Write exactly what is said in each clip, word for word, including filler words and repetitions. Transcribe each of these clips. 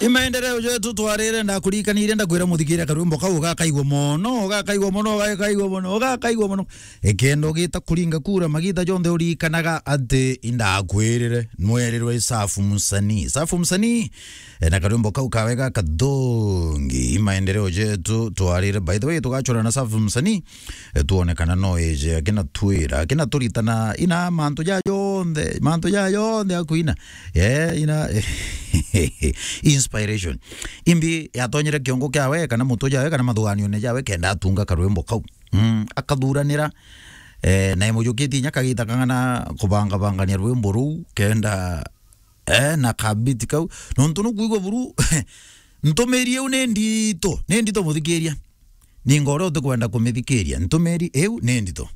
I maendeleo jetu twarire, ndakurikanirie, ndakwira muthikire karwimbo kau, ugakaigua mono, ugakaigua mono, ugakaigua mono, ugakaigua mono. Ikenda ugita kuringa kura magita jonthe urikanaga ati indakwirire, nwerirwe i Safu Msanii. Safu Msanii, e, na karwimbo kau kawe gakathongi. I maendeleo jetu twarire. By the way, tugachora na Safu Msanii, e, tuone kana no eje, akina twira, akina turitana, ina mantu ja jonthe, mantu ja jonthe akuina. Eh, ina inspiration. Imbi yatonyire kiongo kiawe, kana mutu jawe, kana mathuganione jawe, kenda atunga karwimbo kau. Mm, akathuranira, eh, na imujukitie inya kagita kang'ana kubangabangania rwimbo ruu, kenda, eh, na kabiti kau. Nontu nukwigua buru, ntumiri iu ni ndito, ni ndito muthikiria. Ninga uria utikwenda kumithikiria, ntumiri iu ni ndito.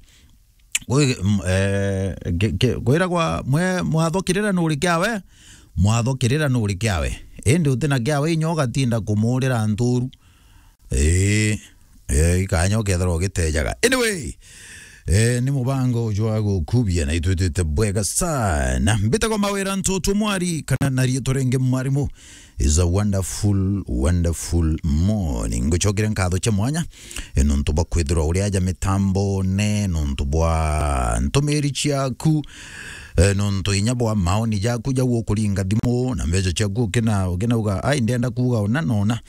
Kwi-, m-, eh, ke-, ke-, kwiragwa mwe-, mwatho kirira nuri kiawe, mwatho kirira nuri kiawe. Indi uti na kiawe, inya ugatinda kumuurira nturu. Ii, eh, ikanya ukethirwa ugitejaga. Anyway, eh, ni mubango jwa gukubia na itwitwite bwega sana. Mbitagwa Mawira Ntutu Mwari, kana na riitwa ringi Mwarimu. Is a wonderful, wonderful morning. Ngucokere nkatho cia mwanya, e, nontu bwa kwithirwa uri aja mitambone, nontu bwa ntumiri ciaku, e, nontu inya bwa maoni jaku jau ukuringa thimu na mbeca ciaku ukina-, ukinauga, "Ai, ndenda kuuga ona na ona."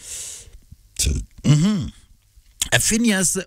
Mhm. Eh, Phineas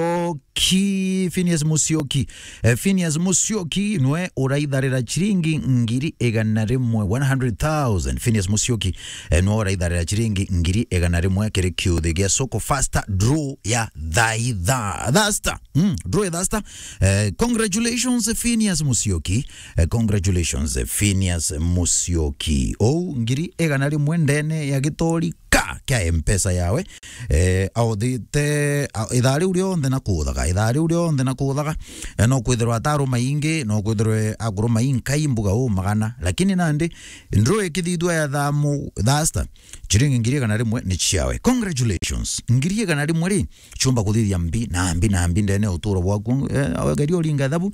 Musyoki, Phineas Musyoki. Eh, Phineas Musyoki nwe uraitharira chiringi ngiri igana rimwe, one hundred thousand. Phineas Musyoki, eh, nwe uraitharira chiringi ngiri igana rimwe kiri kiuthi gia Soko Faster draw ya thaitha-, thasta. Mm, draw ya thasta. Eh, congratulations, Phineas Musyoki. Eh, congratulations, Phineas Musyoki. Ou ngiri igana rimwe ndene ya gitori ka kia M-Pesa yawe. Eh, authite, a-, ithaa riu rionthe na kuthaga, ithaa riu rionthe na kuthaga. Eh, no kwithirwa ataru maingi, no kwithirwe akuru mainkai mbuga u magana. Lakini nandi, ndru ikithithua ya thamu, thasta, chiringi ngiri igana rimwe ni ciawe. Congratulations. Ngiri igana rimwe ri, ciumba kuthithia mbi na mbi na mbi ndene uturo bwaku. Eh, awe geria uringa thabu.